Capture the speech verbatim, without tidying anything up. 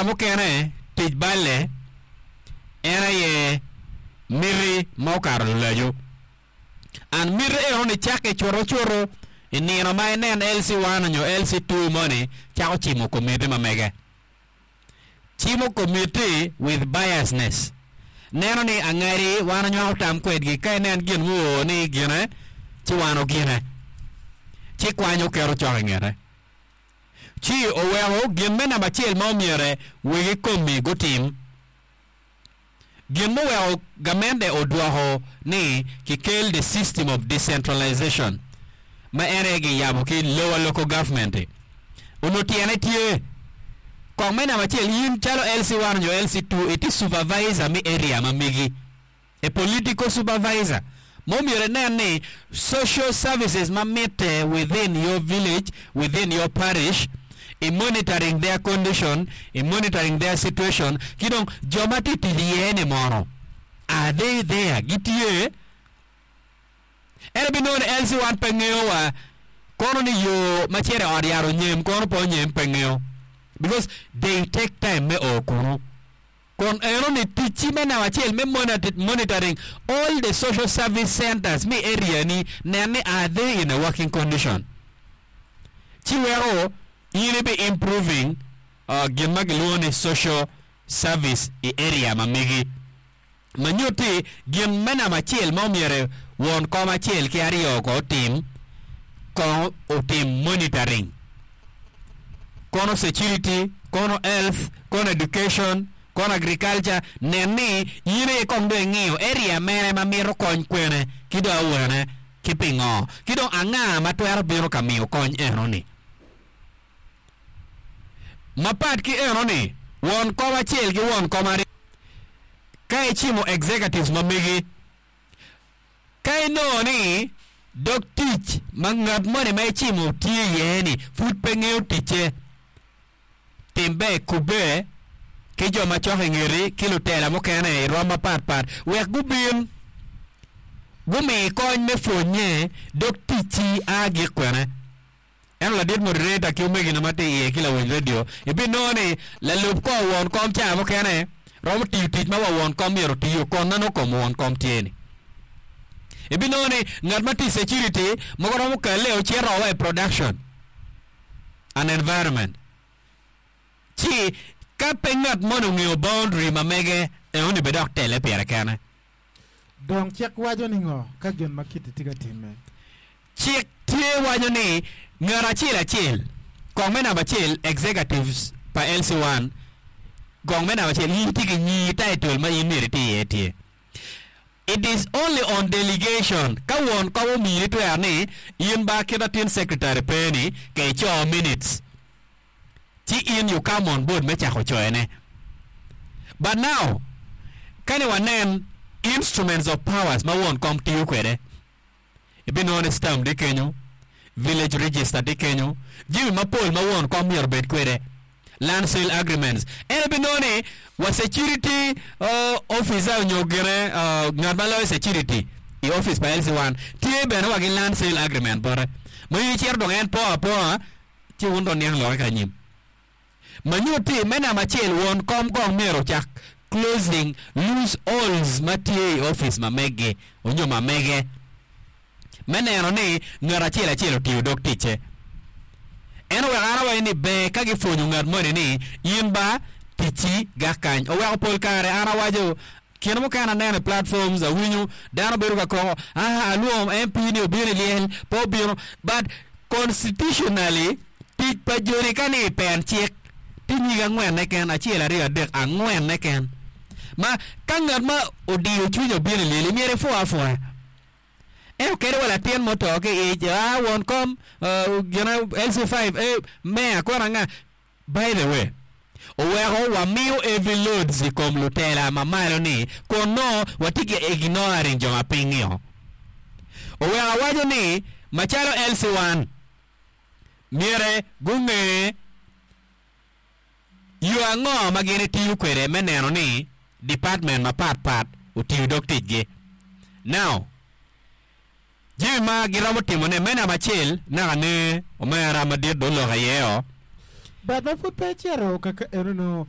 Ca mukene tic balle en aye miti ma okato lulaco. An miti eno ni cakke cuto cuto i nino ma inen L C one onyo L C two moni cako cimo komiti ma mege. Cimo komiti with biasness. Neno ni angadi wan onywako tam kwedgi ka inen gin muo ni gine ci wan ogine. Ci kwanyo keto cok i ngete. Ci oweko gin me namba acel ma omyere wegi komi gutim. Gin muweko gamente odwoko ni kikel the system of decentralization ma en aye giyabo ki lower local government. Onongo tyene tye kong me namba acel, in calo L C one nyo L C two, iti supervisor mi area ma megi, a political supervisor mo myero inen ni social services ma mitte within your village, within your parish, i monitoring their condition, i monitoring their situation. Ki dong jo ma tye tic iye ni mono, are they there? Gitye ento binongo ni L C one pe ngeyo wa kono ni yo ma cito i ot yat onyem kono pe onyem pe ngeyo, because they take time me o kunu kun eno ni ticci me namba acel me monitoring all the social service centers mi area ni nen ni are they in a working condition. Ci weko in ibi improving uh, gin ma gilwongo ni social service i area ma megi. Ma nyutti gin me namba acel ma omyero won kom acel ki aryo ko otim, kong otim monitoring, kono security, kono health, kono education, kono agriculture. Nen ni in aye kong dong ing'iyo area mene ma mito kony kwene ki dong awene ki pingo ki dong anga ma twero bino ka miyo kony enoni. Mapat ki enoni, won kom acel ki won kom aryo ka icimo executives ma megi, ka inongo ni dog tic ma ngat moni ma icimo tye iye ni pud pe ngeyo ticce, tim ber kubbe ki jo ma cok i ngeti ki lutela mukene i rwom mapatpat wek gubin gumi kony me pwonye dog ticci a gik kwene. Ento ladit moderator ki omegina ma tye iye ki lawiny radio, ibinongo ni lalub kor won kom ca mukene romo tiyo tic ma wa won kom myero otiyo kon ma nongo kom won kom tye ni. Ibinongo ni ngat ma tye i security mogo romo kale ocito wa i production and environment. Ci ka pe ngat moni ongeyo boundary ma mege enoni be dok tele pire kene. Dong cik waco ni ngo ka gin ma kiti tye ka timme? Cik tye waco ni ngat acel acel, kong me namba acel, executives pa L C one, kong me namba acel, in tye ki nyingi, title ma in myero iti iye tye. It is only on delegation, ka won kom omini twero ni in ba kita tin secretary pe ni ke ico minutes, ci in you come on board me cako coyone. But now kani wanen instruments of powers ma won kom tiyo kwede, ibinongo ni stamp tye kenyo, village register tye kenyo, jami mapol ma won kom myero obed kwede, land sale agreements. En ibinongo ni wa security uh, officer onyo gine uh, ngat ma loyo security i office pa L C one tye bene wa ki land sale agreement bote ma in icito dong en po apoa ci wun dong niang loke ka anyim. Ma nyutti me namba acel, won kom kong myero ocak closing loose holes ma tye i office ma megi onyo ma mege me neno ni ngat acel acel otiyo dog ticce. En oweko an awaco ni ber ka gipwonyo ngat moni ni in ba ticci gak kany. Oweko pol kare an awaco kine mukene aneno i platforms, awinyo dano bedo ka koko, ah, alwongo M P ni obino i lyel pe obino. But constitutionally tic pa joni ka ni i pen cik tye nyig angwen keken, acel, aryo, adek, angwen keken, ma ka ngat ma odiyo cwinye obino i lyel myero ipwo apwoya. Ento kadi wa latin muto ki ic, ah, won kom uh, gine L C five, eh, meya kono anga. By the way, oweko wamiyo heavy loads i kom lutela ma malo ni kun no watye ki ignoring jo ma piny-ngio. Oweko awaco ni macalo L C one myere gunge yo ango ma gin itiyo kwede me neno ni department mapatpat otiyo dog ticgi. Now jami ma giromo timone me namba acel naka ne omera madit dong oloko iye o. But ma pud pe icito kaka enono.